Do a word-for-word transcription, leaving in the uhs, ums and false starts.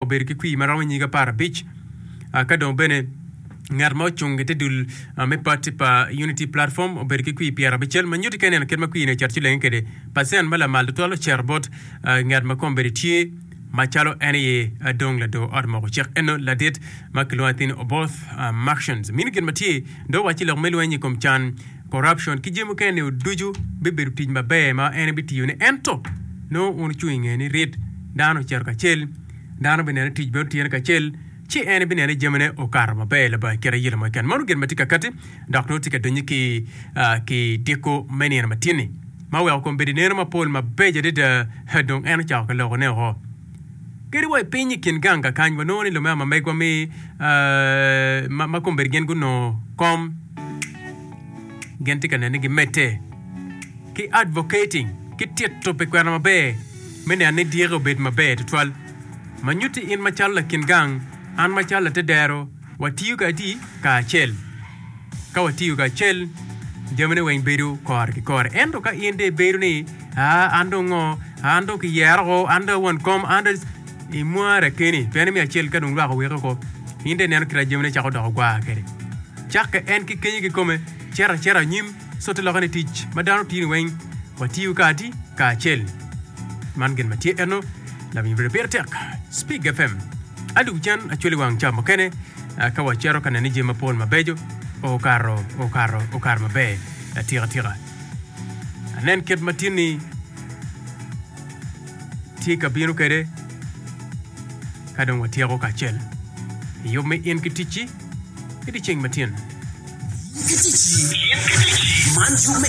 Obedo ki kwir ma romo nyig apar abic ka dong bene ngat ma ocung i te dul me pati pa Unity Platform obedo ki kwir pyerabicel ma nyutti ka ineno kit ma kwir-ni ocito ci lenge kwede. Pacen ma lamal tutwal ocito bot ngat ma kombeddi tye macalo en aye dong lador ot moko cik eno ladit ma kilwongo atir ni Oboth Martians. Mino gin ma tye dong owacci lok me lweny i kom can, corruption, ki jami mukene-ni ducu bibedo tic maber ma en ebitiyone ento nongo wun wucung i nge ni rit dano ocito kacel. Dano bineno tic bene otyene kacel, ci en bineno ni jamine okato maber labongo kit ayela mo keken. Meno gin ma tye ka katti dok nongo tye ka donyo ki ki diko me nino matin-ni, ma oweko kombeddi neno mapol mabeco adada dong en ocako ki lokone woko. Kadi wa i piny i kin gang kakany, wanongo ni lumema ma megwa me ma kombeddi gin gunongo kom gin tye ka neno ni gimedde ki advocating, ki tito pi kwena maber me neno ni dyeke obed maber tutwal. Ma nyutti in macalo lakin gang, an macalo latedero, watiyo kadi kacel. Ka watiyo kacel, jamine weng bedo kore ki kore. Ento ka in dong ibedo ni, Aa, an dong ngo, an dong kiyera oko, an dong a won kom, an dong imware keni, pien imiyo acel ka dong lwak oweke oko, in dong ineno kit ma jamine cako doko gwar kwede. Cakke en ki kenyo kikome, cito acita anyim. Co te lokke ni tic ma dano tiyo ni weng watiyo kadi kacel. Man gin ma tye eno lawiny bedo pire tek. Spig FM. Adwogo cen acwali wang ca mukene ka wacito ka neno jami mapol mabeco okato okato okato maber atika tika. Anen kit ma tinni tye ka bino kwede ka dong watyeko kacel i yub me in ki ticci. I dyeceng matin. In ki ticci. Man yub me.